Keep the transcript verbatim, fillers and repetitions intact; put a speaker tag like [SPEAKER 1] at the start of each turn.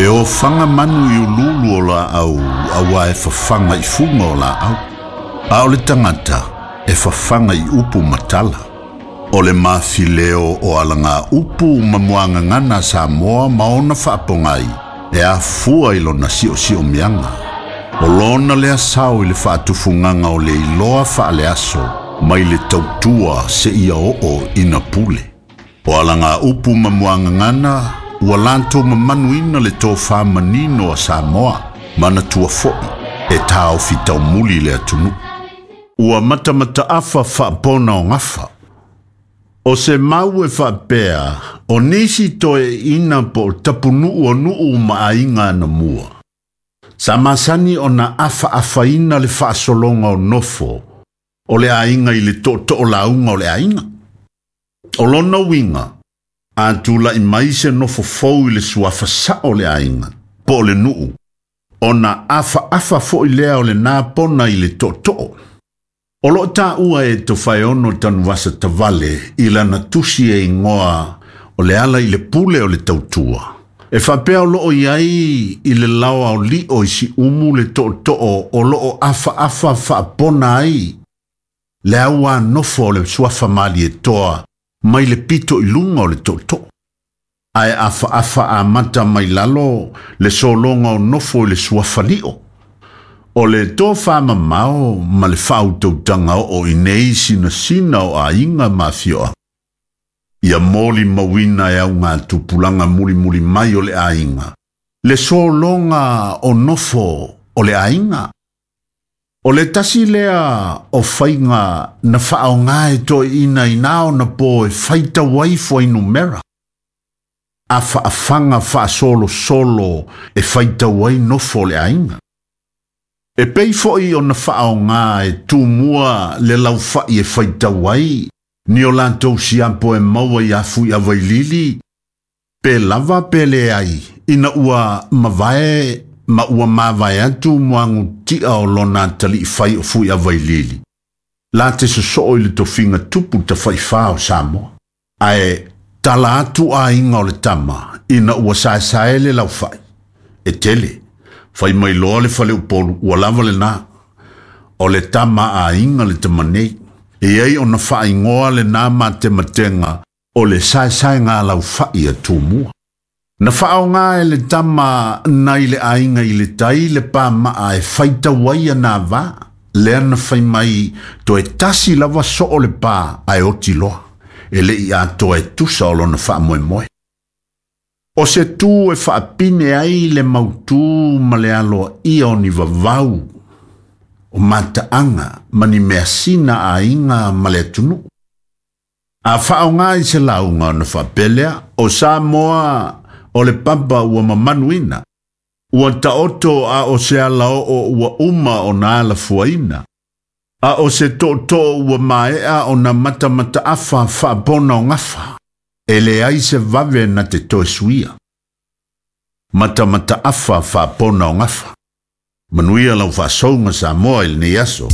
[SPEAKER 1] E ofaga manu i ululu o laau auā e fafaga i fuga o laau. A o le tagata e fafaga i upu ma tala. O le mafileo o alaga upu ma muagagana Samoa ma ona faapogai e afua i lona siosiomiaga. O lona lea sao i le faatufugaga o le iloa faaleaso mai le tautua seia oo ina pule. O alaga upu ma muagagana ua latou mamanuina le tofā manino a Samoa manatua foʻi e taofi taumuli le atunuu. Ua matamataafa faapona o gafa. O se mau e faapea o nisi toeaiina po o tapunuu o nuu ma aiga anamua. Sa masani ona afaafaina le faasologa o nofo o le aiga i le tootoo lauga o le aiga. O lona uiga, a tulaʻi mai se nofo fou i le suafa sao o le aiga, po o le nuu, ona afaafa foʻi lea o lenā pona i le tootoo. O loo taua e Tofaeono Tanuvasa Tavale i lana tusi e igoa o le ala i le pule o le tautua. E faapea o loo iai i le laoa o lio i Siumu le tootoo o loo afaafa faapona ai le auā nofo o le suafa Malietoa mai le pito i luga o le tootoo. Ae afaafa amata mai lalo le sologa o nofo i le suafa Lio. O le tofā mamao ma le faautautaga oo i nei sinasina o aiga ma afioaga. Ia moli mauina e auga tupulaga mulimuli mai o le aiga. Le sologa o nofo o le aiga. O le tasi lea o faiga na faaoga e toeaiina i na ona po e faitau ai fuainumera. Afaafaga faasolosolo e faitau ai nofo o le aiga. E pei foʻi ona faaoga e Tumua le laufai e faitau ai ni o latou siapo e maua iā Fuiavailili pe lava pe leai ina ua mavae ma ua mavae atu muagutia o lona ataliifai o Fuiavailili. La te sosoo i le tofiga tupu tafaifā o Samoa. Ae tala atu aiga o le tama ina ua saesae le laufai. E tele, fai mai loa le faleupolu ua lava lenā. O le tama aiga le tama nei. E ai ona faaigoa lenā matematega o le saesaega laufai a Tumua. Na faaoga e le tama nai le aiga i le tai le pamaa e faitau ai ana vā. Lea na fai mai toe tasi lava soo le pā ae oti loa. E leʻi atoa e tusa o lona faamoemoe. O se tū e faapine ai le mautū ma le aloaia o ni vavau o mataaga ma ni measina aiga ma le atunuu. A faaoga i se lauga ona faapea lea, o Samoa o le papa ua mamanuina. Ua taoto a o se alaoo ua uma ona alafuaina. A o se tootoo ua maea ona matamataafa faapona o gafa. E leai se vave na te toe suia. Matamataafa faapona o gafa. Manuia lau faasouga Samoa i lenei aso.